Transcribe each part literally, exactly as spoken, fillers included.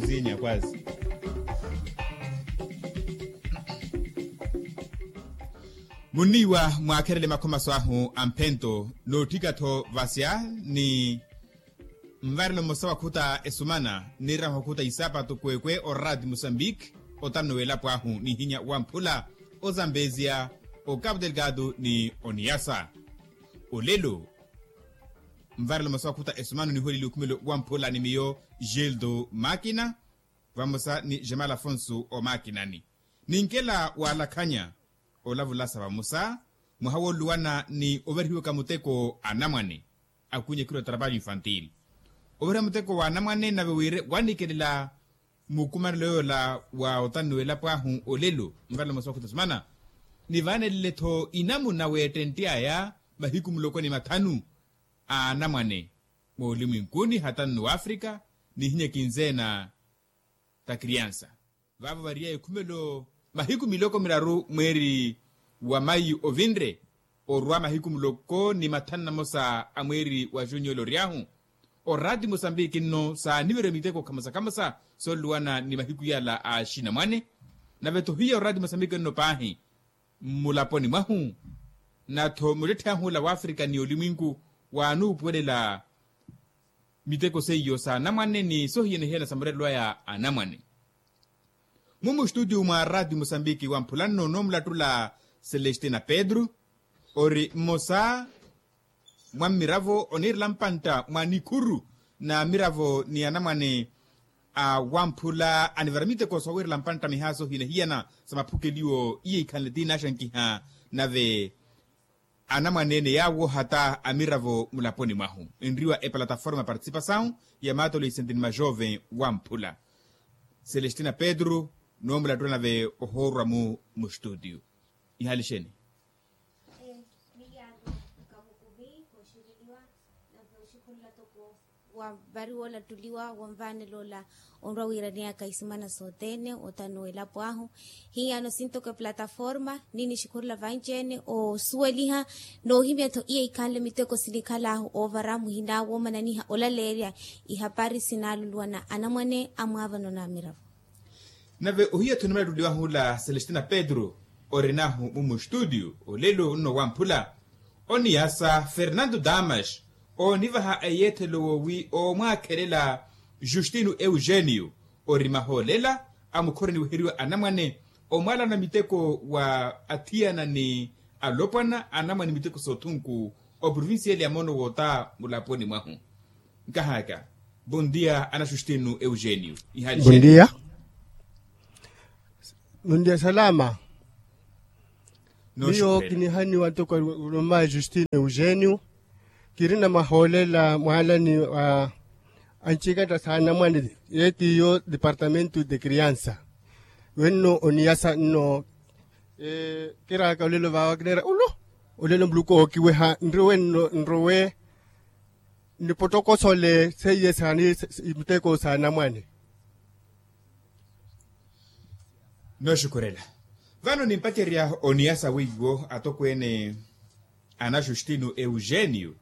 Sinya kwazi. Munniiwa mwaakherele makhomaso ahu a mphento nootthika-tho vasya ni nvarelo mmosa wakhuta esumana niraha okhuta isaapatu kwekwe orati musambiki. Otanno w'elapo ahu nihinya wamphula ozambezia okapu delgado ni oniyasa olelo. Nvarelo mmosa wakhuta esumana niholeli okhumelo wamphula ni miyo gildo makina vamosa ni jamal afonso omakinani. Ninkela walakhanya olavulasa vamosa mwaha woluluwana ni ovarihiwaka muteko anamwane. Akunya kiro trabalho infantil ovarihiwa muteko wa anamwane nave wire wanikelela mukumanelo yoola wa otani w'elapo ahu olelo nvarelo mmosa wakhuta esumana. Nivaanelele-tho inamuna weettentte aya mahiku muloko ni mathanu a anamwane moolimwinkuni hata nno w'afrika nihinya kinzeena ta kriansa. Vaavo variya ekhumelo mahiku miloko miraru mweeri wa mayi ovinre orwa mahiku muloko ni mathanu namosa a mweeri wa junyo olory'ahu. Orati mosambiki nno saaniverya miteko khamosa khamosa sooluwana ni mahiku yala a axinamwane. Nave-tho hiya orati mosambiki nno paahi mmulaponi mwahu na-tho muttetthe ahu ola w'afrika ni olimwinku waanuupuwelela miteko seiyo sa anamwane ni sohiyana-hiyana sa murerelo aya anamwane. Mumu studio mwa ratio mosambiki wamphula nno noomulattula celestina pedro ori mmosa mwa mmiravo oniirela mpantta mwa nikhuru na miravo ni anamwane a wamphula anivara miteko soowiirela mpantta mihaaso hiyana-hiyana sa maphukeliwo iye ikhanle ti naaxankiha. Nave anamwane-ene yaawo hata a miravo mulaponi mwahu enriwa eplataforma participasawu ya maatolo isenti ni majoven wamphula celestina pedro noomulattula nave ohoorwa-mu mustudio. Ihali xeni? Miyaano kamukuvi kooxireliwa nave oxikhulula toko wa vari woolattuliwa wonvaanela ola onrwa wiiraneyaka isimana sothene otano w'elapo ahu. Hiyaano sintoko eplataforma ni nixikhurula vanci-ene osuweliha noohimya-tho iya ikhanle miteko sinikhal'ahu oovara muhina woomananiha olaleerya ihapari sinaaluluwana anamwane amwaavano na miravo. Nave ohiya-tho nimalattuliwahu ola celestina pedro orinahu mumu studio olelo nno wamphula oniyasa fernando damas oonivaha eyeethelo woowi oomwaakhelela justino eugenio ori mahoolela amukhoroniwiheriwa anamwane omwaalana miteko wa athiyana ni alopwana anamwane miteko soothunku oprovincia ele ya moono woota mulaponi mwahu. Nkahaka bondia ana justino eugenio ihali bondia. Bondia salama. Miyo kinihaniwa ntoko roma justino eugenio kirina mahoolela mwaalani wa ancikatta saanamwane yeetiyo departamento de criansa wenno oniyasa nno. Kiraaka olelo vaawa kineera ulu olelo muluku ookiweha nrowe nno nrowe nipotokosole seiye saani muteko saanamwane. Nooxukhurela vano nimpacerya oniyasa weiwo atokweene ana justino eugenio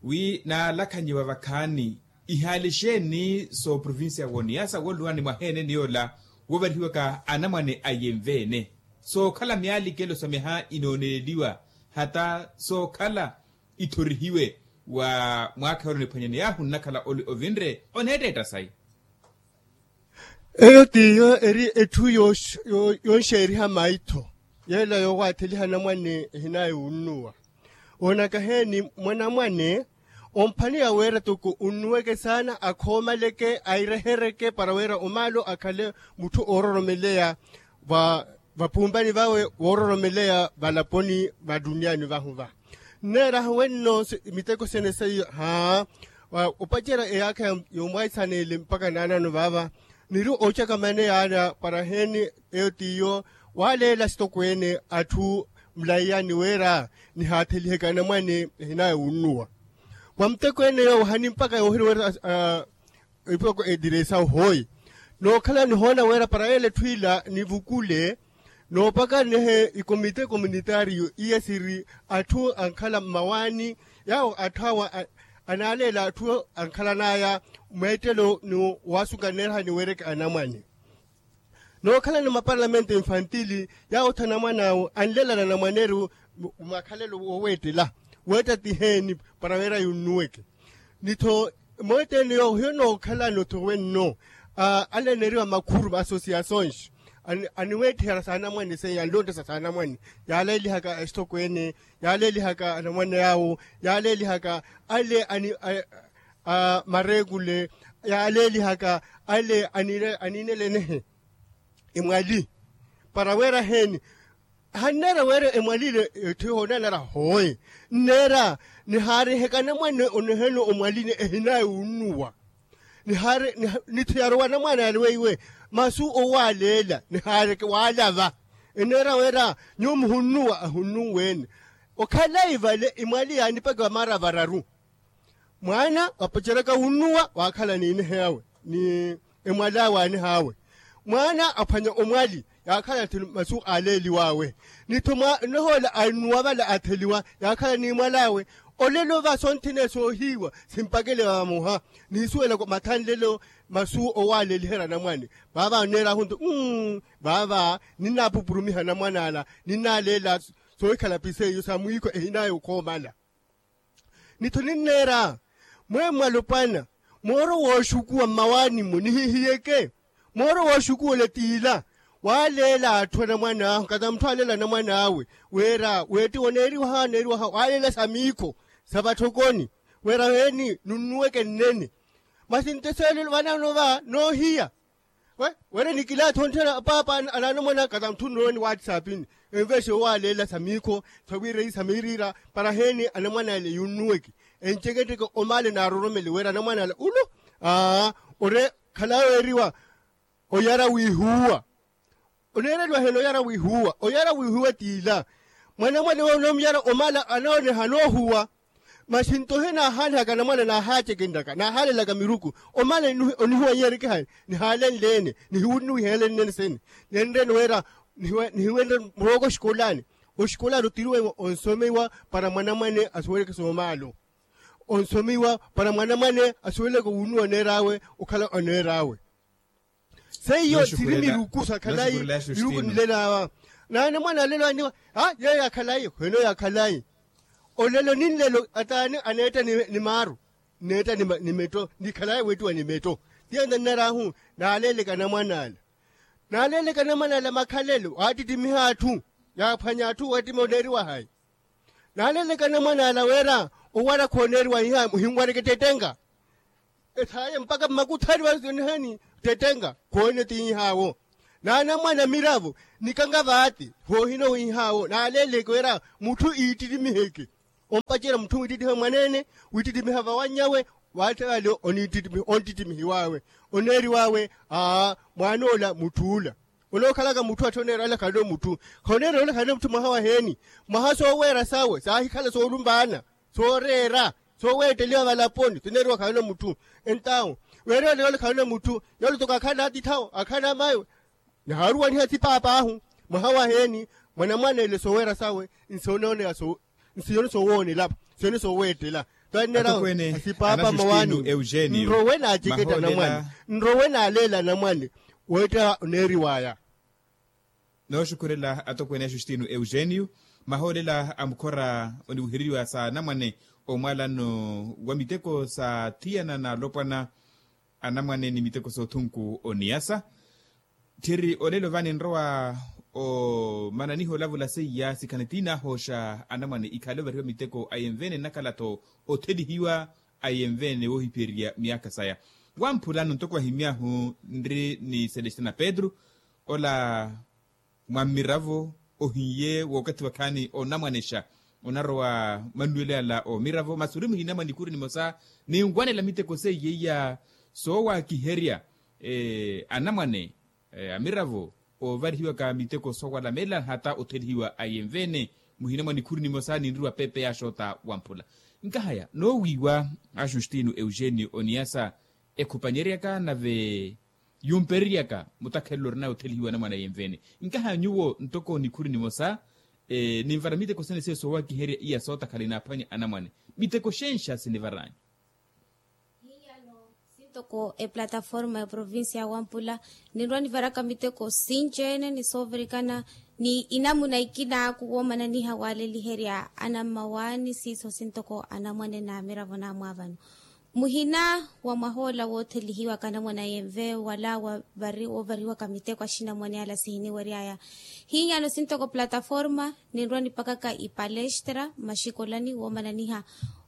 wi naalakhanyiwa vakhaani ihaali xeeni sooprovincia w'oniyasa wooluwani mwaheene ni yoola woovarihiwaka anamwane a yenveene sookhala miyaalikelo sa miha inooneleliwa hata sookhala ithorihiwe wa mwaakha yoole oniphwanyaneyahu nnakhala oli ovinre oneetteetta sayi. Eyo t'iyo eri etthu yonxeeriha maitho yeela yoowaatheliha anamwane ehinaye wunnuwa. Oonaka heeni mwanamwane omphani ya weera toko unnuweke saana akhoomaleke airehereke para weera omaalo akhale mutthu oororomeleya vapumpani vawe woororomeleya valaponi va tuniyani vahu va nneeraha wenno miteko sene seiyo haa opacerya eyaakha yomwaisaneele mpakha naanano vaava niri ocaka mane yaana para heeni eyo t'iyo waaleela sitokweene atthu mulaiyani weera nihaathelihe kanamwane ehinaya wunnuwa wa muteko ene yoowo hani mpakha yoohiri weera ipoko ediresa ohoi nookhala nihoona weera para yeela etthu ila nivukule noopaka nehe ikomite komunitario iya siri atthu ankhala mmawaani yaawo atthu awa Anaaleela atthu ankhalan'aya mweettelo ni waasuka nneerahani weereke anamwane nookhalana maparlamente infantili. Yaawo otthana mwan'awe anlelana anamwaneru makhalelo wooweettela weetta ti heeni para wira yunnuweke. Ni-tho mweetteni yoowo hiyo nookhalana othowe nno ale aneeriwa makhuru associações aniweettiherya saanamwane seiya anlonttesa saanamwane yaaleelihaka esitokweene yaaleelihaka anamwane yaawo yaaleelihaka ale mareekule yaaleelihaka ale aniinelenehe emwali para weera heeni hanneera weera emwali ile etthu ihoonanara hooye nneera nihaariheka anamwane onehene omwali ni ehinaaye wunnuwa nihaari ni-tho yarowa anamwane ale weiwe masu owaaleela nihaareke waalava enneera weera nyuwo muhunnuwa ahunnuweene okhalayi vale emwali yaanipaka maara vararu mwaana wapaceryaka wunnuwa waakhala n'iniha awe ni emwali awe aanih'awe mwaana aphwanya omwali yaakhala ti masu aaleeliw'awe ni-tho mwaana ohoola annuwa vale atheliwa yaakhala n'imwal'awe olelo va sonthene soohiiwa simpakele vamoha niisuwelaka mathanlelo masu owaaleeliherya anamwane vaava anneer'ahu nto vaava ninnaapupurumiha anamwan'ala ninnaaleela soohikhala piseiyo sa mwiikho ehinaaye okhoomala ni-tho ninneera mweemwalopwana mooro wooxukuwa mmawaani-mo nihihiyeke mooro wooxukuwa ole t'ila waaleela atthu anamwan'ahu kata mutthu aaleela anamwan'awe wira weettiwa oneeriwaha oneeriwaha waaleela sa miikho sa vatthokoni wira heeni nunnuweke nnene masi nto seelo vanaano va noohiya wira nikilaathi ontthena paapa anaanamwana kata mutthu nnuwene whatsappini enveexe owaaleela sa miikho sa wiira eyi sa miiriira para heeni anamwan'ale yunnuweke enceketteke omaale naaroromele wira anamwan'ale ulu aa ore khalayi weeriwa oyara wiihuuwa oneereliwa heeni oyara wiihuuwa oyara wiihuuwa t'ila mwanamwane we onoomuyara omaale anooneha anoohuwa masi nto ohinaahaanihaka anamwane naahaacekenryaka naahaalelaka miruku omaale onihuwa inyereke hayi nihaalenle-ene nihiwunnuwiha ele nnene sene nenre-ene wira nihiwenre murooko oxikolani oxikolani otiriwa onsomiwa para mwanamwane asuweleke soomaalo onsomiwa para mwanamwane asuweleke wunnuwa oneer'awe okhala oneer'awe seiyo siri miruku sa khalayi miruku nilel'awa naanamwane alel'aniwa a yeeyo akhalayi khwenoyo akhalayi olelo ni nlelo ataani aneetta ni maaru nneetta ni metto ni khalayi weettiwa ni metto tiyo nto nnar'ahu naaleeleke anamwan'ala naaleeleke anamwan'ala makhalelo waattittimiha atthu yaaphwanya atthu weettima oneeriwa hayi naaleeleke anamwan'ala wira owara khooneeriwa iha muhinwareke ttettenka esaaye mpakha mmakuthani vale sionihani ttettenka khoone ti iihaawo naanamwana miravo nikanga vaati voohina owiihaawo naaleeleke wira mutthu iittitimiheke ompacerya mutthu wiittittimiha mwaneene wiittittimiha vawannyawe waatta vale onttittimihiw'awe oneeriw'awe aa mwaan'ola mutth'ula onookhalaka mutthu atthi oneera ole khale mutthu khoneera ole khale mutthu mwaha waheeni mwaha sooweera sawe saahikhala soolumpaana sooreera sooweetteliwa valaponi soneeriwa khale mutthu entawo weerela ole khale mutthu yole toko akhala atithawo akhala mayo nihaaruwaniha sipaap'ahu mwaha waheeni mwanamwana ele sooweera sawe nsiyoni soowoonela nsiyoni sooweettela twannerya asipaapa mmawaani nrowe naaceketta anamwane nrowe naaleela anamwane weetta oneeriw'aya nooxukhurela atokweene a justino eugenio mahoolela a mukhora oniwiheriwa sa anamwane omwalano wa miteko sa thiyana n'alopwana anamwane ni miteko s'othunku oniyasa tthiri olelo vaani nrowa omananiha olavula seiya sikhani tiinahooxa anamwane ikhale ovariwa miteko ayenveene nnakhala-tho othelihiwa ayenveene woohiphiyererya myaakha saya wamphulano ntoko ahimy'ahu nri ni celestina petru ola mwa mmiravo ohiye wookathi wakhaani onamwanexa onarowa mannuwelo ala omiravo masi ori muhinamwa nikhuri nimosa ninwanela miteko seiye iya soowakiherya anamwane amiravo oovarihiwaka miteko soowala meela hata othelihiwa ayenveene muhinamwa nikhuri nimosa ninriwa pepe yaaxoota wamphula nkahaya noowiiwa a justino eugenio oniyasa ekhupanyeryaka nave yumpereryaka mutakhelelo orinaye othelihiwa anamwane ayenveene nkaha nyuwo ntoko nikhuri nimosa ninvara miteko sene seiyo soowakiherya iya sootakhala inaaphwanya anamwane miteko xenxa sinivar'anyu Toko eplataforma ya provincia ya wampula, ninrwa nivaraka miteko sinci-ene ni soovirikana ni inamuna ikinaaku woomananiha waaleliherya anammawaani siiso sintoko anamwane na miravo naamwaavano. Muhina wa mwahoola woothelihiwaka anamwane a yenve wala woovariwaka miteko axinamwane ala sihiniweryaya. Hinyano sintoko plataforma ninrwa nipakaka ipalestra mmaxikolani woomananiha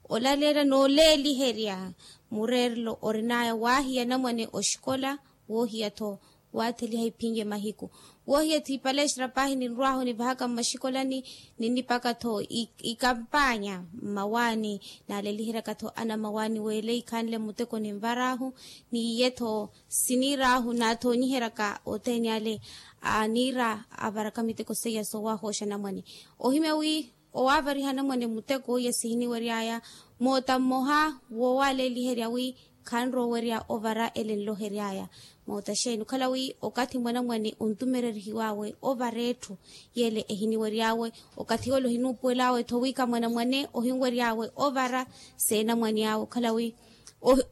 olaleela nooleeliherya mureerelo orin'aya waahiya anamwane oxikola, woohiya-tho waatheliha iphin'ye mahiku. Woohiya-tho ipalestra paahi ninrw'ahu nivahaka mmaxikolani, ninnipaka-tho ikampaanya mmawaani. Naaleliheryaka-tho anammawaani w'ele ikhanle muteko ninvar'ahu, n'iye-tho siniir'ahu naathoonyiheryaka othene ale aniira avaraka miteko seiya soowahooxa anamwane. Ohimya wi owaavariha anamwane muteko iya sihiniwery'aya moota mmoha woowaleeliherya wi khanrowa owerya ovara ele nlohery'aya. Moota xeeni okhala wi okathi mwanamwane ontumererihiw'awe ovara etthu yele ehiniwery'awe, okathi yole ohinuupuwel'awe-tho wika mwanamwane ohinwery'awe ovara seenamwane awe okhala wi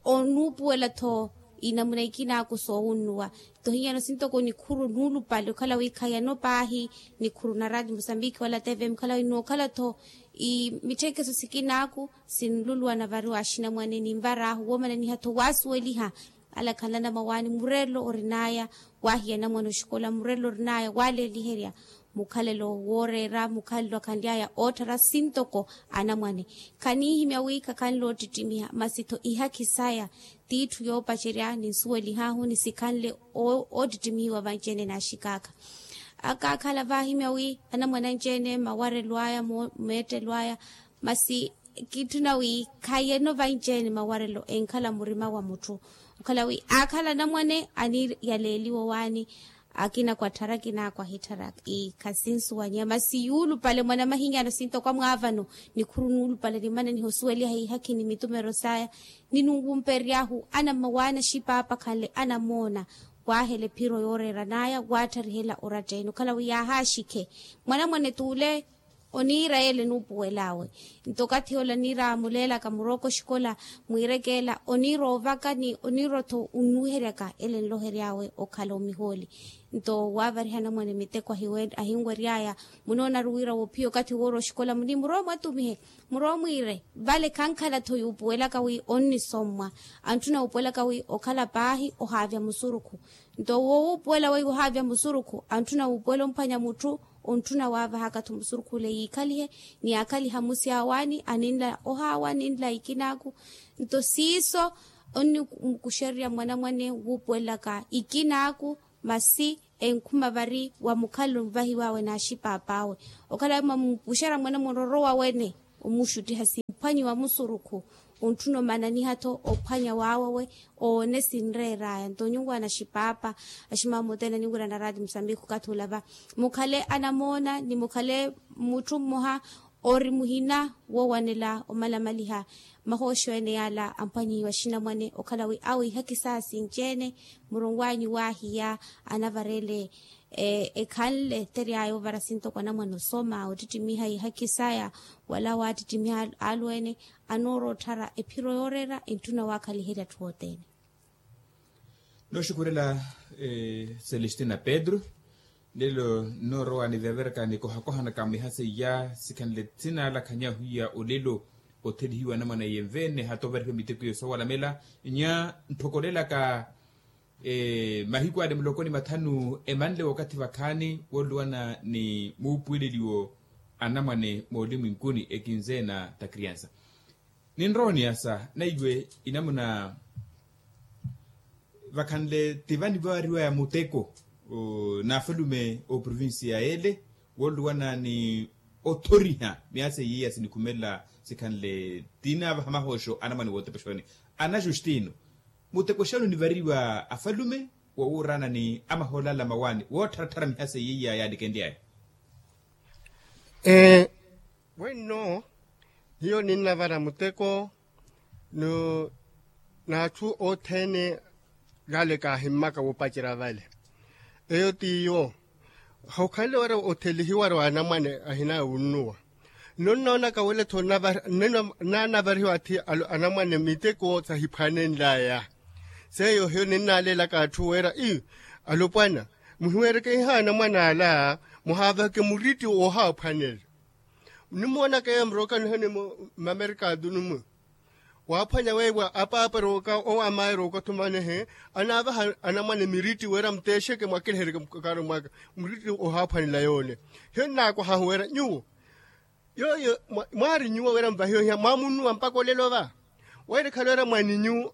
onuupuwela-tho inamuna ikinaaku soowunnuwa. Tohiyano sintoko nikhuru nuulupale okhala wi khayano paahi nikhuru na radio musambiki wala tv mukhala wi nookhala-tho imitthekeso sikinaaku sinluluwa navariwa axinamwane ninvar'ahu woomananiha-tho waasuweliha ala khanla anammawaani mureerelo orin'aya waahiya anamwane oxikola mureerelo orin'aya waaleeliherya mukhalelo wooreera mukhalelo akhanly'aya ootthara sintoko anamwane. Khaniihimya wi khakhanle oottittimiha masi-tho ihakhi saya t'itthu yoopacerya ninsuwelih'ahu nisikhanle oottittimihiwa vanci-ene n'axikaakha. Akaakhala vaahimya wi anamwane anci-ene mawarelo aya meettelo aya masi kitthuna wi khayeno vanci-ene mawarelo enkhala murima wa mutthu okhala wi aakhala anamwane aniiyaleeliwa owaani. Akina kwatthara akina kwahitthara. Ii khasinsuwanyeya masi yuulupale mwanamahinyano sintoko amwaavano nikhuru nuulupale nimananiha osuweliha ihakhi ni mitumero saya. Ninunwumperery'ahu anammawaani axipaapa khanle anamoona waahela ephiro yooreeran'aya waatthariherya oratta-ene okhala wi yaahaaxikhe mwanamwane t'ule oniira yeela enuupuwel'awe. Nto okathi ola aniira muleelaka murooko oxikola mwiirekeela oniira ovaka ni oniira-tho onnuweheryaka ele enlohery'awe okhala omihooli. Nto waavariha anamwane miteko ahinwery'aya munoonari wira woophiya okathi woorowa oxikola muni muroomo atumihe muroomo mwiire vale khankhala-tho yuupuwelaka wi onnisommwa antthuna wuupuwelaka wi okhala paahi ohaavya musurukhu. Nto woowuupuwela weiwo ohaavya musurukhu antthuna wuupuwela omphwanya mutthu. Ontthuna waavahaka-tho musurukhu ole yiikhalihe ni yaakhaliha musi awaani aninla ohaawa aninla ikinaaku. Nto siiso onnimukuxererya mwanamwane wuupuwelaka ikinaaku masi enkhuma vari wa mukhalelo onvahiw'awe n'axipaap'awe. Okhala wi mwamupuxerya mwanamwane orowa wene omuxuttiha simphwanyiwa musurukhu. Ontthuna omananiha-tho ophwanya waawawe oone sinreer'aya nto nyuwo anaxipaapa aximama othene aniwira na raati musambiki okathi olava mukhale anamoona ni mukhale mutthu mmoha ori muhina woowanela omalamaliha. Mahooxo ene yaala amphwanyihiwa axinamwane okhala wi awo ihakhi saya sinci-ene muronw'anyu waahiya anavareele ekhanle etery'aya ovara sintoko anamwane osoma ottittimiha ihakhi saya wala waattittimiha alweene anoorowa otthara ephiro yooreera entthuna waakhaliherya atthu othene. Nooxukhurela celestina pedro nlelo nnoorowa niveverekani kohakohanaka mwiha seiya sikhanle sinaalakhanya hwiya olelo othelihiwa anamwane yenve nne hata ovarihiwa miteko iyo soowalamela nya ntthokolelaka mahiku ale muloko ni mathanu emanle wakathi vakhaani wooluwana ni muupuweleliwo anamwane moolimwinkuni ekinzeena ta kriansa. Ninrowa oniyasa naiwe inamuna vakhanle tivani vaariwaya muteko n'afalume ooprovincia yeele wooluwana ni othoriha miyaasa iyiya sinikhumelela sikhanle tinaavaha mahooxo anamwane wootepexoni. Ana justino muteko xani onivariwa afalume wowuurana ni amahoolala mawaani woottharattara mihaso eyiya yaalikenly'aya? Ee, wenno hiyo ninnavara muteko n'atthu othene yaale kaahimmaka woopacerya vale. Eyo t'iyo hokhanle wira othelihiwari wa anamwane ahina wunnuwa. Nonnoonaka wile-tho naanavarihiwa athi anamwane miteko sahiphwanenl'aya. Seiyo hiyo ninnaalelaka atthu wira ii, alopwana, muhiwereke ihaana mwan'ala, muhaavaheke muritti woohaaphwanela. Nnimoonaka eyo murokano hene mmamerika atunu mwe, waaphwanya weiwa apaapa erooka owo amaya erooka othumanehe, anaavaha anamwane miritti wira muteexeke mwakilehereke mukakano mwaka, muritti ohaaphwanela yoole. Hiyo nnaakwahahu wira nyuwo yooyo mwaari nyuwo wira muvahiwe hiya mwaamunnuwa mpakha olelo va? Wira ekhale wira mwaninyu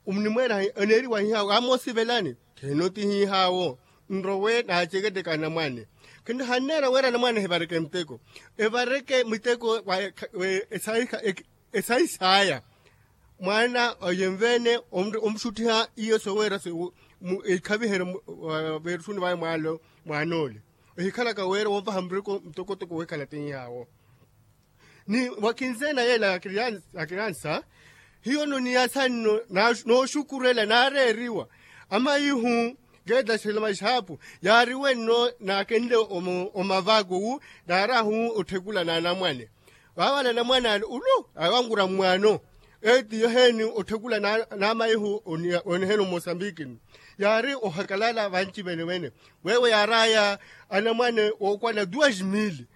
munimweera, oneeriwa hihaawo amoosivelani. Khino ti hihaawo, nrowe naaceketteke anamwane. Khino hanneera wira anamwane ehivareke miteko, evareke miteko wa esai saya. Mwaana oyenveene omuxuttiha iyo soweera, ikhaviherye veerusuni vawe mwaalo, mwaanoole ohikhalaka weera woovaha mureko mutokotoko wekhala ti hiyaawo. Ni wa kinseena yeela ya kiriansa, hiyo noniyasa nno nooxukurela naareeriwa amaihu, keetaxela maxaapu yaariwe nno naakenle omavakuwu, naarahu otthekula n'anamwane. Vaavale anamwane ale ulu awankurya mmwaano, etiyo heeni otthekula n'amaihu onihela omosambikini. Yaari ohakalala vanci vene vene, weewo yaaraya anamwane ookwana duas mil,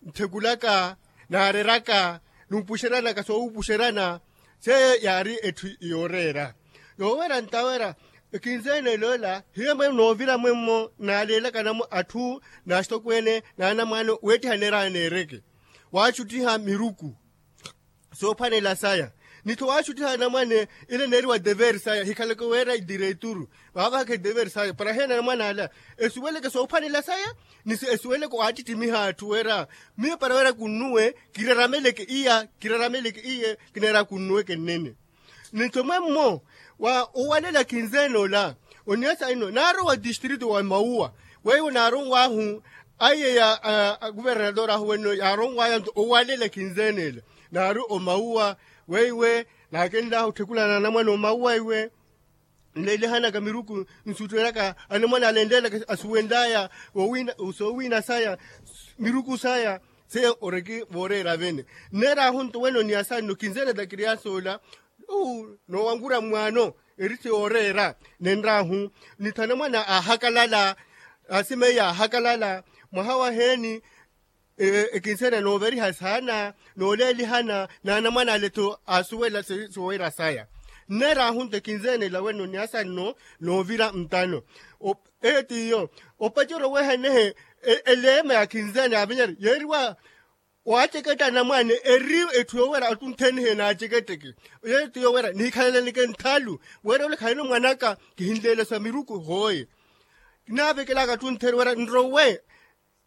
nthekulaka, naareraka, nuupuxeranaka soowupuxerana. Seiyo yaari etthu yooreera. Yoowerya ntawerya ekinseene eloola hiyo mwe noovira mwemmo naaleelaka atthu n'axitokweene n'anamwane weettiha neeraaya neereke, waaxuttiha miruku soophwanela saya. Ni-tho waaxuttiha anamwane ile neeriwa dever saya hikhaleke weera idireituru, vaavahaka idever saya para heena anamwane ala esuweleke soophwanela saya, ni esuweleke waattittimiha atthu wira miyo para wira kunnuwe kirarameleke iya kirarameleke iye kineera kunnuweke nnene. Ni-tho mwemmo wa owalela kinseene ola, oniyasa ino naarowa distrito wa mauwa, weiwo naaronw'ahu aiye ya akuvernador ahu wenno yaaronw'aya nto owalela kinseene ela, naari omauwa weiwe naakenl'ahu otthekula n'anamwane omauwa iwe nleelihanaka miruku, nsuttwelaka anamwane ale enleelaka asuwenl'aya soowiina saya, miruku saya. Seiyo oreki vooreera vene nneer'ahu nto wene oniyasa nno kinseene takiriyasa ola, noowankurya mmwaano eritti yooreera nenr'ahu. Ni-tho anamwane aahakalala, asimeiya aahakalala mwaha waheeni ekinseene nooveriha saana nooleelihana n'anamwane ale-tho aasuwela sooweera saya. Nneer'ahu nto ekinseene ela wene oniyasa nno noovira ntano. Eyo t'iyo opacerya owehanehe eleema ya kinseene yaavinyari yeeriwa waaceketta anamwane eri etthu yoowerya attunthenihe naaceketteke. Yeeyo t'iyo werya nihikhalaleke nthalu, werya ole khalino mwan'aka kihinleelesa miruku hooye. Kinaavekelaka attuntheni werya nrowe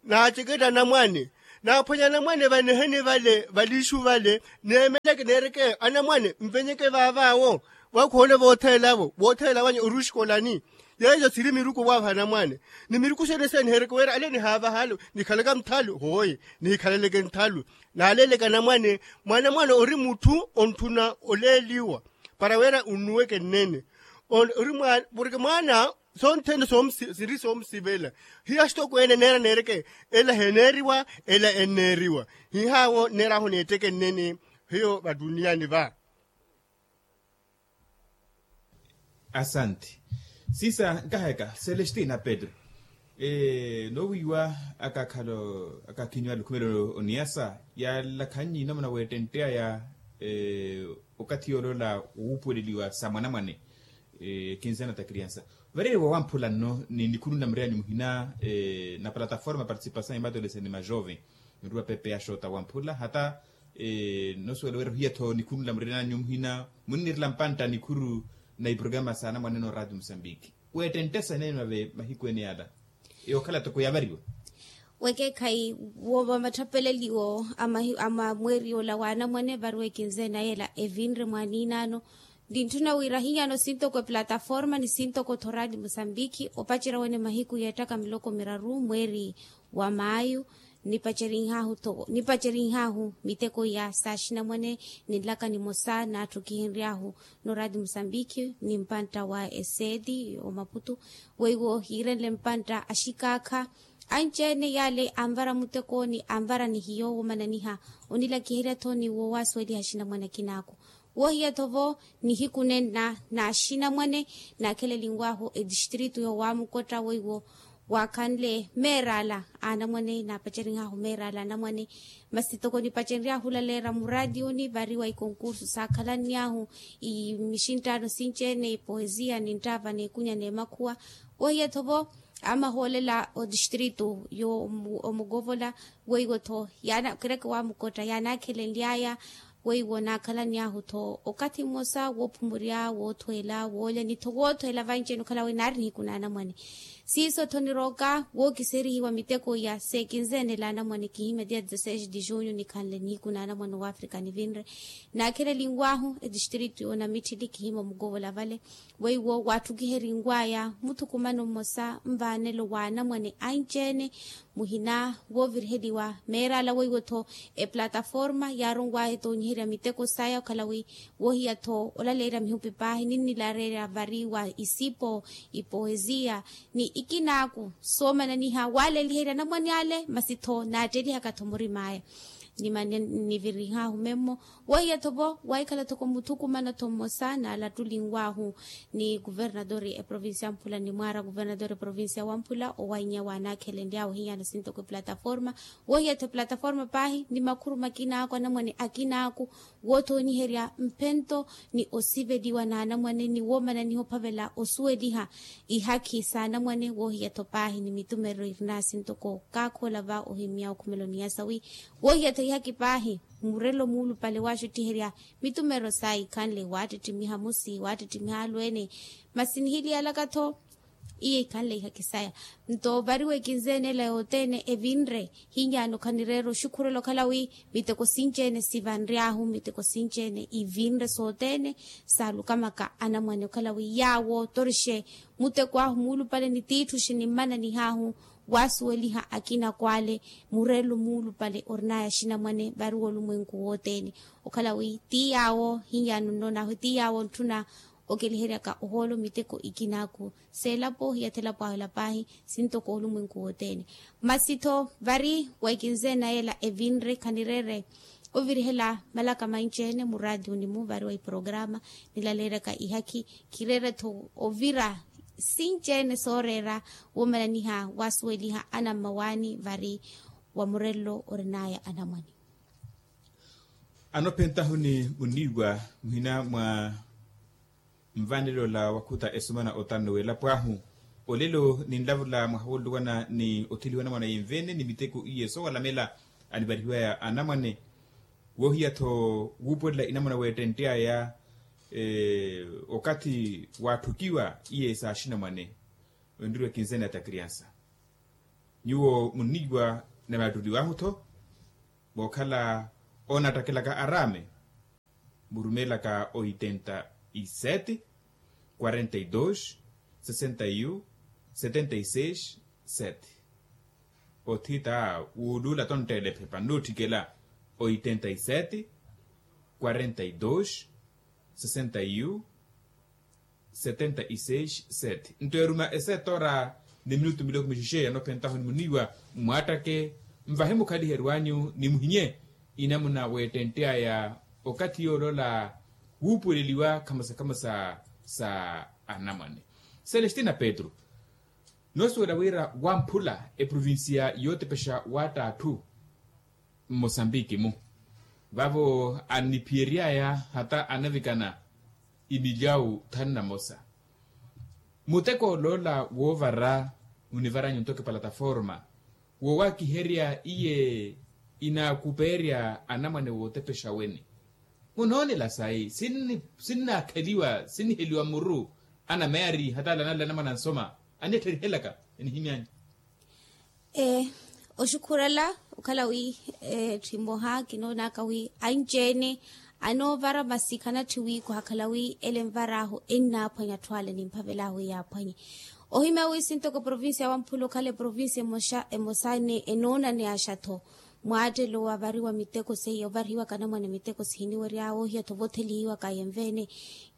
naaceketta anamwane, naaphwanya anamwane vaneheni vale valiixu vale, neemeleke neereke anamwane mvenyeke vaavaawo, vakhoole vootheelavo vootheela wanya oruxikolani. Yeeyo siri miruku vaavanamwane ni miruku sene sene nihereke wira ale nihaavaha ale nikhalaka nthalu hooye, nihikhalaleke nthalu. Naaleleke anamwane mwa anamwane ori mutthu ontthuna oleeliwa para wira unnuweke nnene. Ori mwaana porke mwaana sonthene siri soomusivela. Hiyo axitokweene neera neereke ela heneeriwa ela enneeriwa. Hihaawo nneer'ahu neetteke nnene hiyo vattuniyaani va. Asanti. Sisa nkaheka celestina pedro, noowiiwa akaakhalo akaakhinyu alukhumelo oniyasa yaalakhanyi namuna weettentteyaya okathi yooloola wuupuweleliwa sa mwanamwane. Ekinzana ta kriansa vareeriwa wamphula nno ni nikhulunla mureyanyu muhina na plataforma participasañ ya matolese ni majoven. Nruwa pepe ya xoota wamphula hata nosuwela wira ohiya-tho nikhunula murinanyu muhina munnirela mpantta nikhuru na iprograma sa anamwane no radio musambiki. Weettenttesa enenwa ve mahiku ene yala yookhala toko yavariwa. Wekeekhayi wa matthapeleliwo a mweeri ola wa anamwane variwa ekinzene ayela evinre mwaaniinaano. Nintthuna wira ahinyano sintoko eplataforma ni sintoko-tho radio musambiki opacerya wene mahiku yeettaka miloko miraru mweeri wa maayu. Nipacerinhaahu miteko iya saaxinamwane ninlaka nimosa n'atthu kihinry'ahu no radio musambiki ni mpantta wa eseedi omaputu weiwo hiirenle mpantta axikaakha anci-ene yale anvara mutekooni anvara ni hiyo womananiha onilakiherya-tho ni woowasuweliha axinamwane akinaaku. Wohiya-tho vo nihiku nenna n'axinamwane n'akheleliw'ahu etistritu yoowamukotta weiwo waakhanle meerala a anamwane n'apacerih'ahu meerala a anamwane. Masi toko nipacerih'ahu olaleera muraatiyuni vari wa ikonkursu saakhalanny'ahu imixinttaano sinci-ene ipoesia ninttaava n'ekunya n'emakhuwa. Wohiya-tho vo amahoolela otistritu y'omukovola weiwo-tho yaana kireke wamukotta yaanaakhelenly'aya weiwo naakhalanny'ahu-tho okathi mmosa woophumurya woothweela woolya ni-tho woothweela vanci-ene okhala wi naari nihiku n'anamwane. Siiso-tho nirooka wookiserihiwa miteko iya seekinzeenela anamwane kihimya dia dezesseis de junho nikhanle nihiku n'anamwane w'afrika nivinre. Naakheleliw'ahu etistritu y'onamitthili kihimya omukovola vale weiwo waatthukiheryiw'aya muthukumano mmosa nvaanelo w'anamwane anci-ene muhina wooviriheliwa meerala weiwo-tho eplataforma yaaronw'aya etoonyiherya miteko saya okhala wi wohiya-tho olaleerya mihupi paahi ninnilareerya vari wa isipo ipoesia ni ikinaaku soomananiha waaleliherya anamwane ale masi-tho naattelihaka-tho murim'aya. Nimannivirih'ahu memmo wohiya-tho vo waahikhala-thoko muthukumano-tho mmosa naalattulinw'ahu ni kuvernadori eprovincia wamphula ni mwaara kuvernadori eprovincia wamphula owannya waanaakhelenly'awe ohinyana sintoko eplataforma. Wohiya-tho eplataforma paahi ni makhuru makinaaku anamwane akinaaku woothoonyiherya mphento ni osiveliwa n'anamwane ni woomananiha ophavela osuweliha ihakhi s'anamwane wohiya-tho paahi ni mitumerero irinaaye sintoko kaakhoola va ohimya okhumelo ni yasa wi wohiya-tho ihakhi paahi murelo muulupale waaxuttiherya mitumerero saaya ikhanle waattittimiha musi waattittimiha alweene. Masi nihiliyalaka-tho iyo ikhanle ihakhi saya nto vari wekinzeenela yothene evinre hinyano khanireera oxukhurela okhala wi miteko sinci-ene sivanry'ahu miteko sinci-ene ivinre sothene saalukamaka anamwane okhala wi yaawo torixe muteko ahu muulupale ni tiitthu xinimmananih'ahu waasuweliha akinako ale murelo muulupale orinaya axinamwane vari wolumwenku wothene okhala wi ti yaawo hinyano nnoon'ahu ti yaawo ntthuna okeliheryaka ohoolo miteko ikinaaku s'elapo hiyathi elapo ahu ela paahi sintoko olumwenku wothene. Masi-tho vari wa ekinzeenaya ela evinre khanireere ovirihela malaka manci-ene muraatiyuni mu vari wa iporokarama nilaleeryaka ihakhi khireere-tho ovira sinci-ene sooreera woomananiha waasuweliha anammawaani vari wa murelo orinaya anamwane. Anophentahu ni muniiwa muhina mwa nvanelo la wakhuta esumana otanno welapo ahu olelo ninlavula mwaha woluwana ni otheliwa anamwane yenvene ni miteko iye sowalamela anivarihiwaya anamwane wohiya-tho wuupuwelela inamwane weettentte aya okathi waatthukiwa iye saaxinamwane. Onriwa ekinzene ya takriansa nyuwo muniiwa na vaattuliwahu-tho mookhala onattakelaka araame murumelaka oitenta y sete quarenta y dos sesenta y un setenta y seis sete. Othita wuuluula tonttele ephepa nnuutthikela oitenta y sete quarenta y dos sesenta y un setenta y seis sete nto eruma esetora ni minutu miloko mixixeya nophentahu ni muniiwa mmwaattake nvahe mukhaliheryo anyu ni muhinye inamuna weettentte aya okathi yoolola wuupuweleliwa khamosa khamosa sa anamwane. Celestina petru noosuwela wira wamphula eprovincia yootepexa waatta atthu mmosambiki-mu vavo anniphiyery'aya hata anavikana imilyawu thanu na mosa. Muteko oloola woovara munivaranyu ntoko epalataforma woowakiherya iye inaakupeerya anamwane wootepexa weni munoonela sayi sinnaakheliwa sinniheliwa muru anameeri hata alanala anamwane ansoma anettherihelaka enihimy'anyu. Ee oxukhurela okhala wi etthi mmoha kinoonaka wi anci-ene anoovara masi khanatthi wi kuhakhala wi ele envar'ahu ennaaphwanya atthu ale nimphavel'ahu wi yaaphwanye. Ohimya wi sintoko eprovincia wamphula okhala eprovincia emosa emosa ni enoona ni axatho mwaattelo wa variwa miteko seiya ovarihiwaka anamwane miteko sihiniwery'awe ohiya-tho vothelihiwaka yenvene.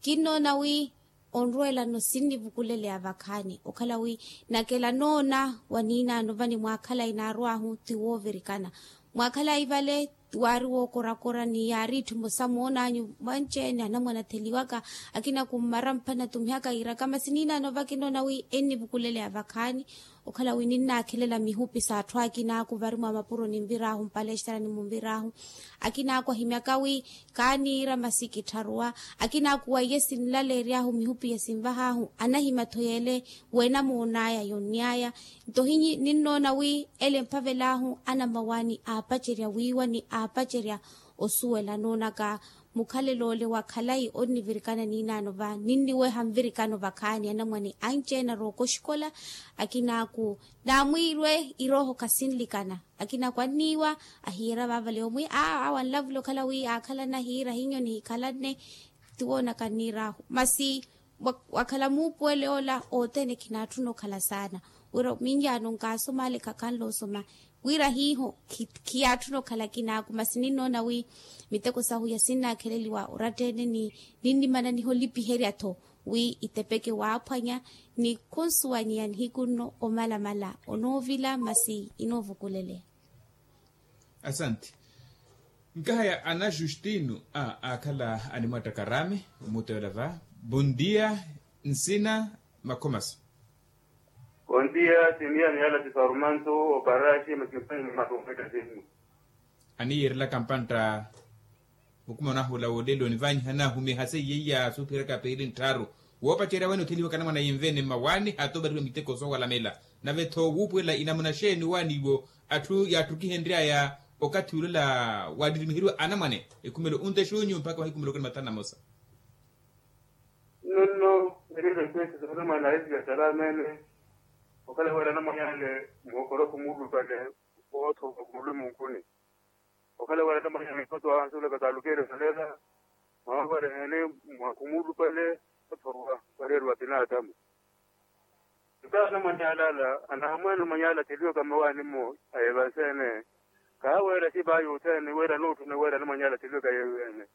Kinnoona wi onrweelano sinnivukuleleya vakhaani okhala wi nakela noona wa niinaano vani mwaakhalayi naarw'ahu ti woovirikana mwaakhalayi vale waari wookorakora ni yaari itthu emosa moonanyu mwanci-ene anamwane atheliwaka. Akina kummara mphanne atumihaka yiiraka masi niinaano vakinoona wi ennivukuleleya vakhaani. Okhala wi ninnaakhelela mihupi s'atthu akina aku vari mwa mapuro ninvir'ahu mpalestarani munvir'ahu. Akina aku ahimyaka wi kaaniira masi kittharuwa. Akina aku waiye sinlaleery'ahu mihupi ya sinvah'ahu anahimya-tho yeele weenamoon'aya yonny'aya. Nto hinyi ninnoona wi ele mphavel'ahu anamawaani aapacerya wiiwa ni aapacerya osuwela noonaka mukhalelo ole wa khalayi onnivirikana niinaano va ninniweha nvirikano vakhaani anamwane anci-ene arooka oxikola. Akina aku naamwiirwe irooho khasinlikana. Akina aku anniiwa ahiira vaavale omwi aa awo anlavula okhala wi aakhalana ahiira hiinyo nihikhalanne. Tiwoonaka nniir'ahu masi wakhala muupuwele ola othene khinaatthuna okhala saana wira minyaano nkaasoma ale khakhanle osoma wira hiiho khiyaatthuna okhala kinaaku masi ninnoona wi miteko sahu yasinnaakheleliwa oratta-ene ni ninnimananiha olipiherya-tho wi itepeke waaphwanya ni khunsuwanyeya nihiku nno omalamala onoovila masi inoovukuleleya. Asanti. Nkahaya ana justino a aakhala animwattaka araame omuuta yola va. Bondia nsina makhomaso. Bondia sinia ni yala sifarmanto oparaxi makimpani ni matometa sinu. Aniyiirelaka mpantta mukuma onahula woolelo onivanyiha anahumiha seiye iya suuphiraka piili nttharu woopacerya wene otheliwaka anamwane yinvene mmawaani hata ovariwa miteko soowalamela. Nave-tho wuupuwela inamuna xeeni owaani iwo atthu yaatthukihenry'aya okathi ulola waattirimiheriwa anamwane ekhumelo onte xunyu mpakha mahiku muloko ni mathanu na mosa. Nonno erire kwesi soona mwana aisi ya salamene. Okhala wira anamwanyale muhokoroku muulupale oothoka kulumonkuni. Okhala wira anamwanyale mikoto ansulaka kaalukeerya osalela. Mwawawerehene mwakhumuulupale othorwa wareeriwa pinaatamu. Ntawo anamwanyala ala anaamwaana omwanyala atheliwaka mmawaani-mo ayeevanse-ene. Kaaweera sipa yuuthene wira anootthuna wira anamwanyala atheliwaka yeewe-ene.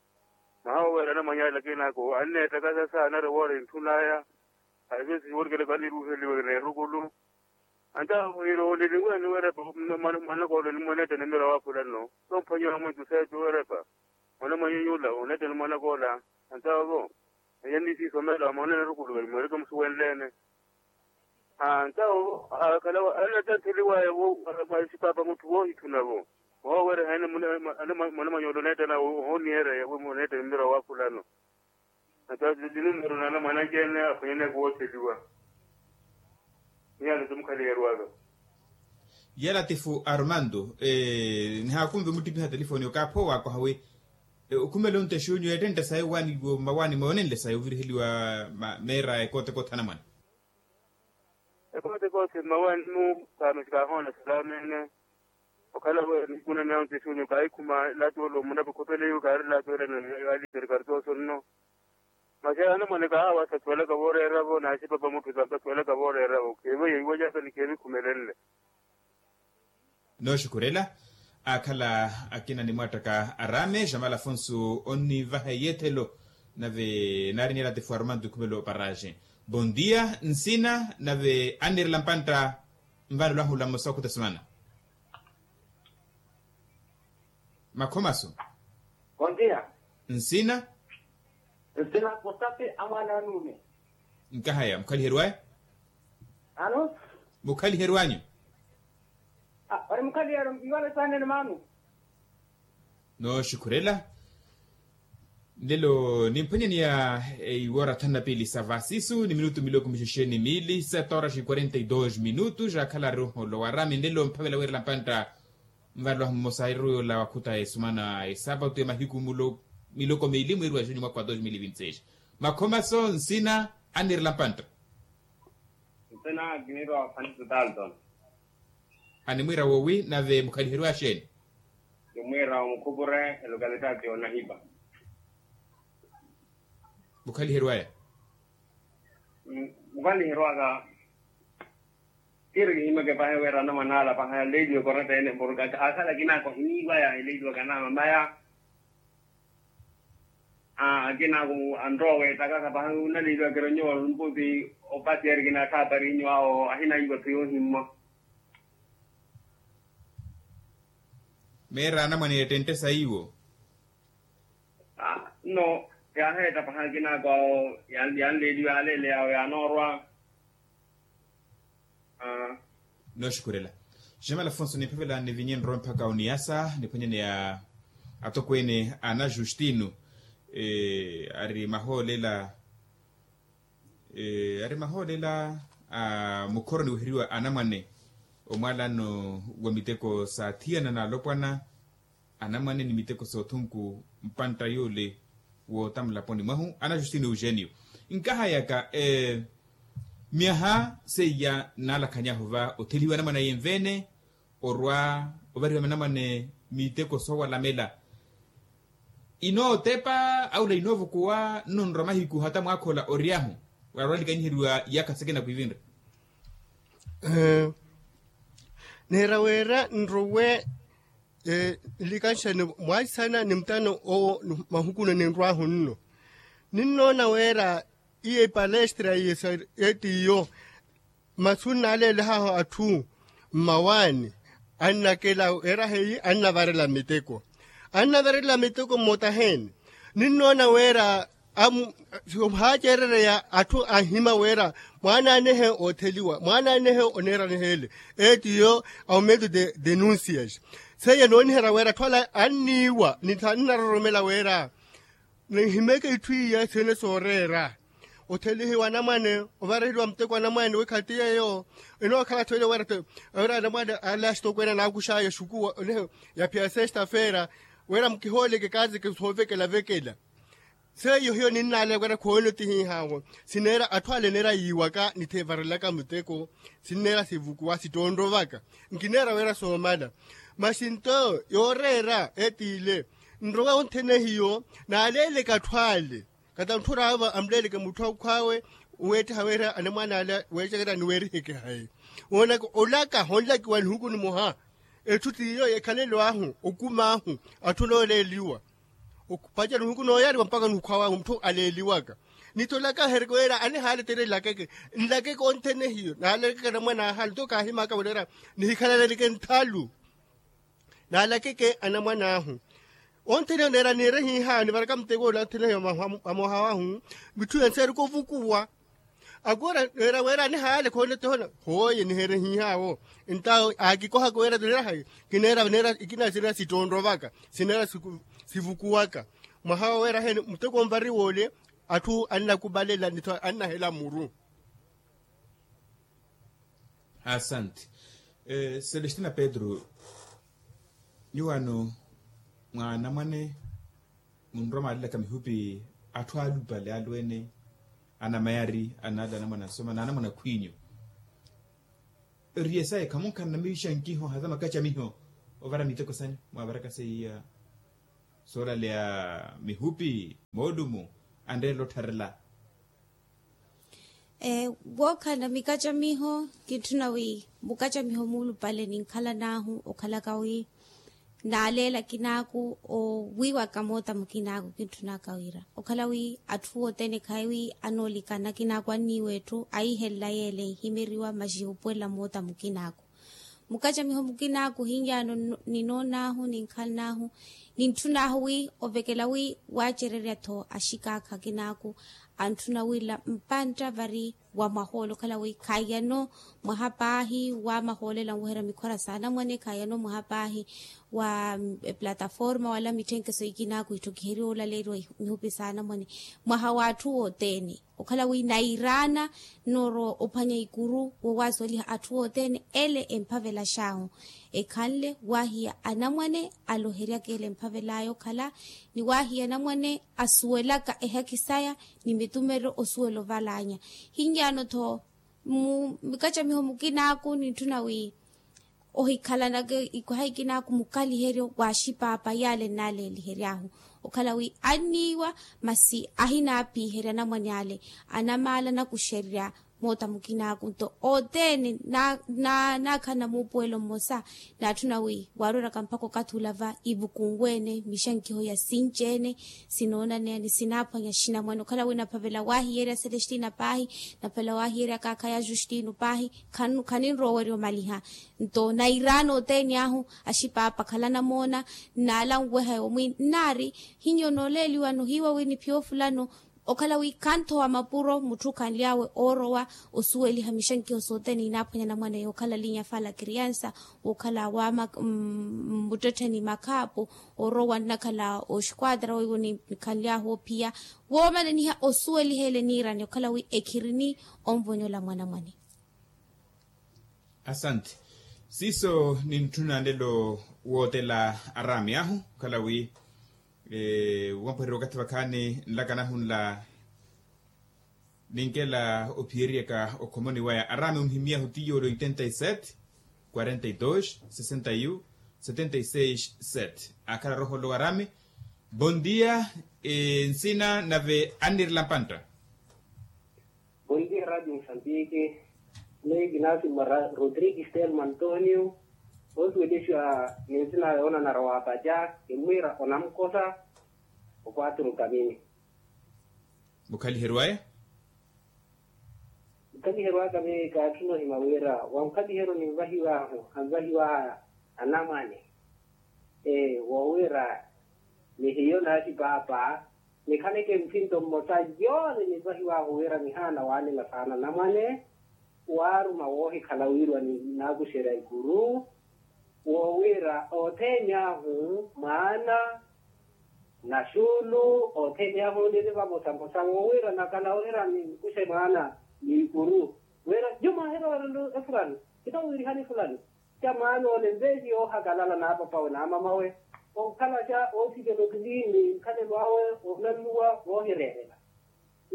Mahawa wira anamwanyala akina-ako anneettakasa saana ari woora entthun'aya. Ahiso siworikela kaniruuheliwe n'erukulu. Antawo wira oleliwe ni werepa mwanakoola onimweneetta ni mira wa fulano tomphwanyiwa mwentu seetu werepa mwanamwanyu nyula oneetta ni mwanakoola. Antawo-vo enya nisiisomela mwaneene erukulu velimwereke musuwenleene. Antawo akhala anatantheliwaya mwa sipapa mutthu woohitthuna-vo. Woowerehene mwanamwanyu ole oneettana ohoonniherya yeewe oneettani mmira wa fulano. Ata tinimmero naana mwananci-ene aphwanyaneyaka wootheliwa. Miyaano ti mukhaliherwaka. Yalatifu armando nihaakunve muttipiha telefoni okaapha owaakoha wi okhumela onte xunyu ettentta sayi owaani iwo mmawaani moonenle sayi oviriheliwa meera ekoote koothana mwana. Ekoote koothana mmawaani-mu kaamesi kaahoona salamene. Okhala wi nihiku na miyaano onte xunyu kaahikhuma elaati ole omunapa okhopele iwo kaari elaati ole yaaliperi kartooso nno. Masi anamwane kaahawa sasuwelaka vooreera-vo n'asipapa mutthu sasuwelaka vooreera-vo kheevo yeiwajaka ni kheevikhumelenle. Nooxukhurela aakhala akina nimwaattaka araame jamala afonso onnivaha eyeethelo. Nave naari niyalatifu armando khumelo paraxe. Bondia nsina nave anniirela mpantta. Nvanelo ahula mmosa okhuta sumana. Makhomaso. Kontiya. Nsina. Nsina kosapi amwaana anuume. Nkahaya mukhaliherwaya. Ano. Mukhaliherwanyu. Ori mukhaliherwa iwale saanene maanu. Nooxukhurela. Nlelo nimphwanyaniya iwoora thanu na piili sa vasisu ni minutu miloko mixexe ni miili sete horas e quarenta e dois minutos akhala ari ohoolo wa rami nlelo mphavela wiirela mpantta. Nvarelo ahu mmosa ahiru yoola wakhuta esumana esapatu ya mahiku miloko miili mwiiri wa xunyu mwaka wa dos mil e vinte seis. Makhomaso nsina anniirela mpantta. Nsina kiniirwa wa fanitu dalton. Animwiira woowi nave mukhaliherwa axeeni? Kimwiira omukhupure elokalitaati yoonahipa. Mukhaliherwaya. Mukhaliherwaka. Kiiri kihimeke pahi wira anamwanaala pahi aleeliwe koretta ene porka akhala akinaaka ohiniiwaya eleeliwaka anaamamaya. Akinaaka anrowa weetakaka pahi onaleeliwaka eri onyowa olumputi. Opati eri kinaatthapari inyu awo ahinaiwa phi yoohimmwa. Meera anamwane ettentte saiwo. Nno yaaheetta pahankina awo yanleeliwa yaaleele yawo yaanoorwa. Nooxukhurela. Jamal afonso nimphavela nivinye nrowe mpakha oniyasa niphwanyane ya atokweene ana justino. Ari mahoolela ari mahoolela a mukhoroni weheriwa anamwane omwaalano wa miteko saathiyana n'alopwana anamwane ni miteko soothunku mpantta yoole wootamulaponi mwahu ana justino eugênio. Nkahayaka myaha seiya nnalakhanyahu va othelihiwa anamwane aye nveene orwa ovariwa anamwane miteko soowalamela. Inootepa aula inoovukuwa nno nrwa mahiku hata mwaakhola oryahu warwa likanyiheriwa iyakha sikina kwiivinre. Neera weera nrowe nlikanxani mwaisana ni mutano owo mahukuno ninrwahu nno. Ninnoona weera iye ipalestra iye sa etiyo masu nnaaleelehaahu atthu mmawaani annakela weera heyi annavarela miteko. Annavarela miteko mmotaheene ninnoona weera amu haaceerereya atthu anhima weera mwaanaanehe ootheliwa mwaanaanehe oneeraniheele. Etiyo aumento de denuncias seiya nooniherya weera atthu ala anniiwa ni thaani naroromela weera ninhimeke itthu iya sihene sooreera othelihiwa anamwane ovariheliwa muteko anamwane wi khati yeeyo enookhala atthu ele weera te weera anamwane ale axitokweene anaakuxaya xukuwa onehe yaphiya sexta feera weera mukihooleke kaazeke soovekela vekela. Seiyo hiyo ninnaaleya weera khooni otihihaawo sineera atthu ale neera yiiwaka nithevarelaka muteko sineera sivukuwa sittoonrowaka nkineera weera soomala. Masi nto yooreera etiile nrowa onthene hiyo naaleeleke atthu ale kata ntthuraawe amuleeleke mutthu akhwaawe weettiha weera anamwaana ala weecekerya ni weerihekehaye woonaka olaka honlakiwa nihuku nimoha. Etthu t'iyo ekhalelo ahu okum'ahu atthu nooleeliwa opaca nihuku nooyariwa mpakha nihukhwaawe mutthu aleeliwaka. Nitolaka hereke weera anihaaletere nlakeke nlakeke onthene hiyo naalakeke anamwan'aha nto kaahimaka waleera nihikhalaleke nthalu. Naalakeke anamwan'ahu onthene hiyo neera niire hiiha nivaraka muteko ola onthene hiyo amoha wahu mitthu yanseereke ovukuwa. Akoora neera weera anihaale khoona tohona hooye niheere hiihaawo. Ntawo aakikohaka weera neera hayi kineera neera ikina sineera sittoonrowaka sineera sivukuwaka mwaha wa weera heene muteko onvari woole. Atthu annakubalela nitho annahela muru. Asante. Celestina pedro nyuwano mwa anamwane munrwa mwaalelaka mihupi atthu alupale alweene anamayari anala anamwane asoma na anamwane akhwiinyu. Eriye sayi khamunkhanana miixankiho hata makacamiho ovara miteko sanyu mwavaraka seiya soolaleya mihupi moolumu anreerela ottharela. Wookhala mikacamiho kintthuna wi mukacamiho muulupale ninkhalan'ahu okhalaka wi naaleela akinaaku owiiwaka moota mukinaaku kintthunaka wira okhala wi atthu othene khayi wi anoolikana akinaaku anniiwa etthu ahihelela yeela ehimeriwa masi ohupuwelela moota mukinaaku. Mukacamiho mukinaaku ohinyaano ninoon'ahu ninkhaln'ahu nintthun'ahu wi ovekela wi waacererya-tho axikaakha akinaaku antthuna wila mpantta vari wa mwahoole okhala wi khaiyano mwaha paahi wa mahoolela nweherya mikhora s'anamwane khaiyano mwaha paahi wa eplataforma wala mitthenkeso ikinaaku itthokiheriwa olaleriwa mihupi s'anamwane mwaha w'atthu wothene. Okhala wi nairaana noorowa ophwanya ikuru wowaasuweliha atthu othene ele emphavelax'ahu ekhanle wahiya anamwane aloheryaka ele emphavel'aya okhala ni wahiya anamwane asuwelaka ehaki saya ni mitumeryo osuwela oval'anya. Hinyaano-tho mu mikacamiho mukinaaku nintthuna wi ohikhalanaka ikwaha ikinaaku mukaliheryo w'axipaapa yaale nnaleelihery'ahu okhala wi anniiwa masi ahinaapiiherya anamwane ale anamaala anakuxererya Moota mukinaaku nto othene naakhala na muupuwelo mmosa. Naatthuna wi waarweraka mpakha okathi ula va ivukunwe-ene mixankiho ya sinci-ene. Sinoonaneya ni sinaaphwanya xinamwane okhala wi naphavela waahiyerya celestina paahi, naphavela waahiyerya kaakha ya justino paahi. Khaninrowa owerya omaliha nto nairaana othene ahu. Axipaapa khala namoona nnaala nweha yomwi nnaari hinyonooleeliwano hiiwa wi niphiya ofulano. Okhala wi khanthowa mapuro mutthu khanly'awe oorowa osuweliha mixankiho sothene inaaphwanya namwane yookhala linya fala kriansa wookhala wa mmuttettheni makhaapu oorowa nnakhala oxquatra weiwo nikhanly'ahu ophiya woomananiha osuweliha ele niirani okhala wi ekhirini onvonyola mwanamwane. Asante. Siiso nintthuna nlelo wootela araami ahu okhala wi wampwererya wakathi vakhaani nlaka nahu nla ninkela ophiyeryaka okhomoni waya araami onhimyahu tiyo ole oitenta y sete quarenta y dos sesenta y un setenta y seis sete akhala roho nlo araami. Bon dia. Nsina nave annirela mpantta. Bon dia radio mosambiki. Mei kinaasimwa rodrigues telmo antonio. Osuwelixiwa ni nsina yoonanara wa paca kimmwiira onamkosa. Okwaturu kamini. Mukhaliheryo aya. Mukhaliheryo aka mei kaatthuna ohima wira wa mukhaliheryo ninvahiw'ahu anvahiw'aha anamwane. Ee woowira ni hiyo naaxipaapa nikhaleke mphinto mmosa yoole ninvahiw'ahu wira nihaana waalela saana anamwane. Waaruma woohikhala wiiriwa ninaakuxerya ikuru woowira othene ahu mwaana naxuulu othene ahu niri vamosamosa woowira nakhala ohira ninkuxe mwaana n'ikuru wira nyumo ahira owerela efulani. Kitawiirihani efulani ca mwaana ole nveesi yoohakalala n'apapawe n'amamawe okhalaxa oosikela otilini nkhalelo awe oonannuwa voohireerela.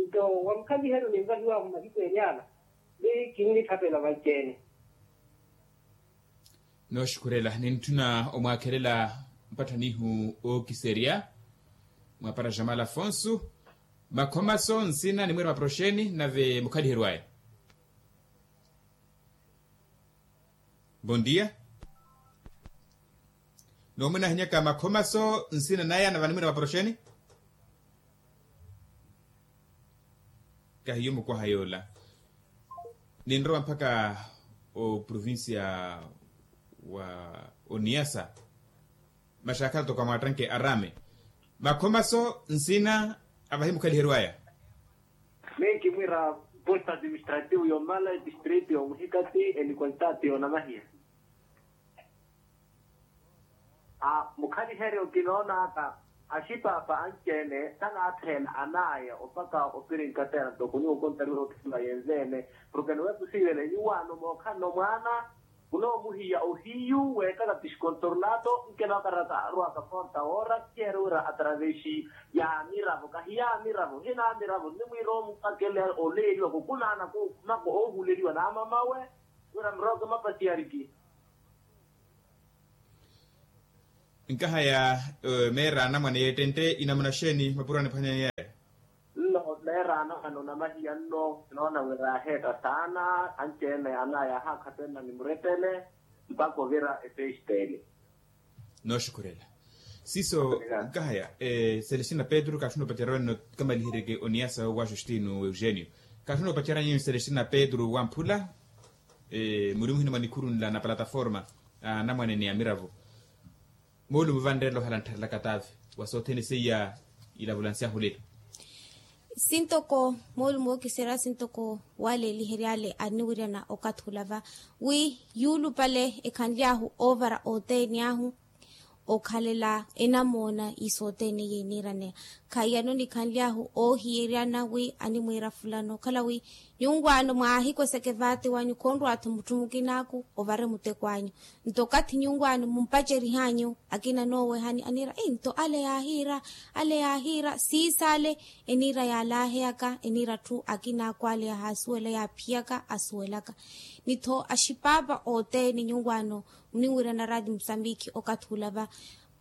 Nto wa mukhaliheryo ninvahiw'ahu mahiku ene ala ni kinnitthapela vanci-ene. Nooxukhurela nintthuna omwaakhelela mpatthanihu ookiserya mwaapara jamal afonso. Makhomaso nsina nimwiira maproxeni nave mukhaliheryo aya. Bon dia. Noomwina ahinyaka makhomaso nsina naya nave animwina maproxeni. Kahiyo mukwaha yoola ninrowa mpakha oprovincia wa oniasa. Maxaakhala toko amwaattanke arame makhomaso nsina avahi mukhaliheryo aya. Menkimwira posto administrativo yomala distrito yomuhikati enikwalitaati yonamahiya. A mukhaliheryo kinoonaka axipaapa anci-ene tanaatheela anaya opaka opirinkatera ntoko nyuwo kontariwa okisimba yenze-ene. Porke niwepusiivele nyuwaano mookhanno mwaana munoomuhiya ohiyu weekaka piskontornato nkenokaraka arwaka konta woora kiyeere wira atravexi ya miravo kahi ya miravo hina miravo nimwiira omupakele oleeriwa kokunaana kokhumaka oohuleriwa n'amamawe wira mirooke mapasiyariki. Nkahaya meera anamwane y'ettente inamuna xeeni mapuro aniphwanyani yaya? Nno meera anamwane onamahiya nno kinoona wira yaaheetta saana anci-ene anaya yaahakhapenna ni murepele mpakha ovira efestele. Nooxukhurela siiso. Nkahaya celestina petru kaatthuna opacerya wenno kamaliheryeke oniyasa wa justino eugenio. Kaatthuna opacerya nyuwo celestina petru wamphula muri muhina mwa nikhuru nla na plataforma anamwane ni amiravo. Moolumo vanreela ohala nttharelaka taavi wa sothene seiya ilavulansi ahulelo. Sintoko moolumo ookiserya sintoko waleelihery'ale anniwiryana okathi ula va wi yuulupale ekhanly'ahu oovara othene ahu okhalela enamoona iso othene yeniiraneya. Khaiyano nikhanly'ahu oohiyeryana wi animwiira fulano okhala wi nyunwaano mwaahikweseke vaate wanyu khonrwa-tho mutthu mukinaaku ovare muteko anyu. Nto okathi nyunwaano mumpacerih'anyu akina anoowehani aniira nto ale yaahiira ale yaahiira siisaale. Eniira yaalaaheyaka eniira atthu akinaaku ale yahaasuwela yaaphiyaka asuwelaka. Ni-tho axipaapa othene nyunwaano muninwirana raati musambiki okathi ula va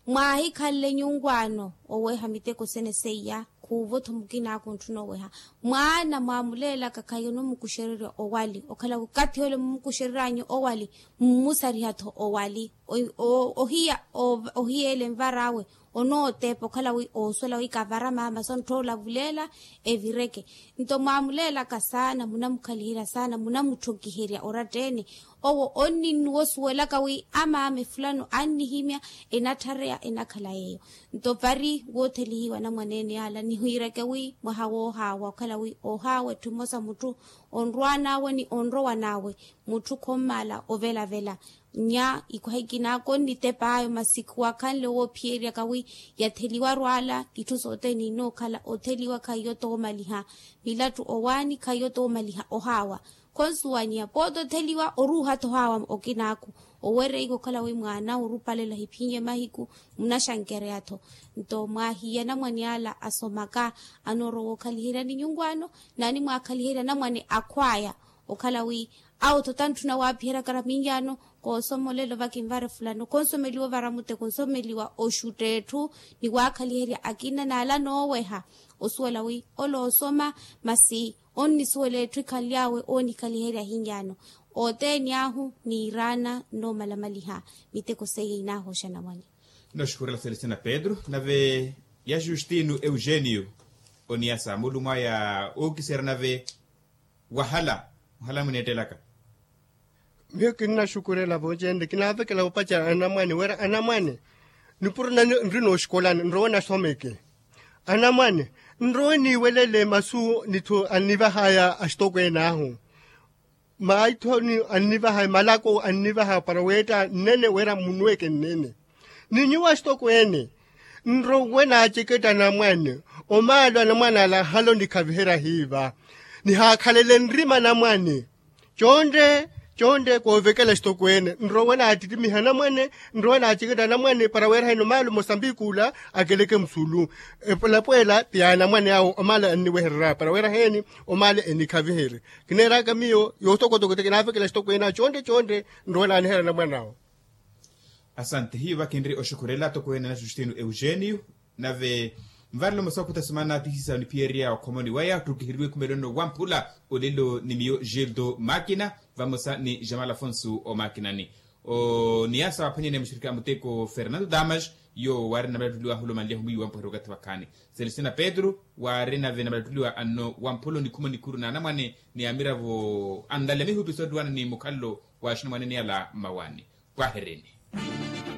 mwaahikhanle nyunwaano oweeha miteko sene seiya. Kuuvo-tho mukina aka ontthuna oweha mwaana mwaamuleelaka khayi onomukuxererya owali okhala wi okathi ole mumukuxereryanyu owali mmusariha-tho owali. Ohiya ohiya ele nvar'awe onooteepa okhala wi oosuwela wi kavara maama sontthoola vuleela evireke. Nto mwaamuleelaka saana munamukhaliherya saana munamutthonkiherya oratta-ene. Owo onninnuwa osuwelaka wi amaama efulano annihimya enatthareya enakhala yeeyo. Nto vari woothelihiwa anamwane-ene yaala nihiireke wi mwaha woohaawa okhala wi oohaawa etthu mmosa mutthu onrwaan'awe ni onrowan'awe mutthu khommaala ovelavela. Nya ikwaha ikinaaka onnitep'aya masi khuwakhanle woophiyeryaka wi yatheliwa arwaala itthu sothene inookhala otheliwa khaiyo toomaliha. Milattu owaani khaiyo toomaliha ohaawa. Khonsuwanyiya pooti otheliwa oruuha-tho ohaawa okinaaku owereika okhala wi mwaana orupalela hiphinye mahiku munaxankereya-tho. Nto mwaahiya anamwane ala asomaka anoorowa okhaliheryani nyunkwaano naani mwaakhaliherya anamwane akhw'aya okhala wi awo-tho tantthuna waaphiheryaka raminyaano. Koosomolela ovakinvara efulano khonsomeliwa ovara muteko nsomeliwa oxutta etthu ni waakhaliherya akina n'ala nooweha osuwela wi ole oosoma masi onnisuwela etthu ikhanly'awe oonikhaliherya ahinyaano. Othene ahu niiraana nnoomalamaliha miteko seiya inaahoxa anamwane. Nooxukhurela celestina pedro nave ya justino eugenio oniyasa mulumo aya ookiserya nave wahala ohala mwineettelaka. Miyo kinnaxukhurela voocenle kinaavekela opacerya anamwane wira anamwane nipuro nani nri nooxikolani nrowe nasomeke. Anamwane nrowe niiwelele masu nithu annivahaya axitokweene ahu maithoni annivahaya malako annivahaya para weetta nnene wira munweke nnene. Ni nyuwo axitokweene nrowe naaceketta anamwane omaalo anamwane ala halo nikhaviherya hiiva nihaakhalele nrima anamwane. Contte contte koovekela axitokweene nrowe naattittimiha anamwane nrowe naaceketta anamwane para weeraheni omaalo mosambiki ula akeleke musulu. Epwelapwela ti anamwane awo omaalo anniwehererya para weeraheni omaalo enikhaviherye. Kineeraka miyo yootokotoko ti kinaavekela axitokweene awo contte contte nrowe naaniherya anamwane awo. Asante hiyo vakinri oxukhurela atokweene na justino eugenio nave nvarelo mosakhuta simana atihisa oniphiyerya okhomoni waya ottukiheriwe ekhumelo nno wamphula olelo ni miyo gildo makina vamosa ni jamal afonso omakinani. Oniyasa waphwanyene muxirikhi a muteko fernando damas yo waari namalattuliwa ahulomanlya humiyiwa mpuheri wakathi wakhaani celestina pedro waari nave namalattuliwa anno wamphula onikhuma onikhuru na anamwane ni amiravo anlale mihupiso attuwana ni mukhalelo wa axinamwane niyala mmawaani. Pwahereni.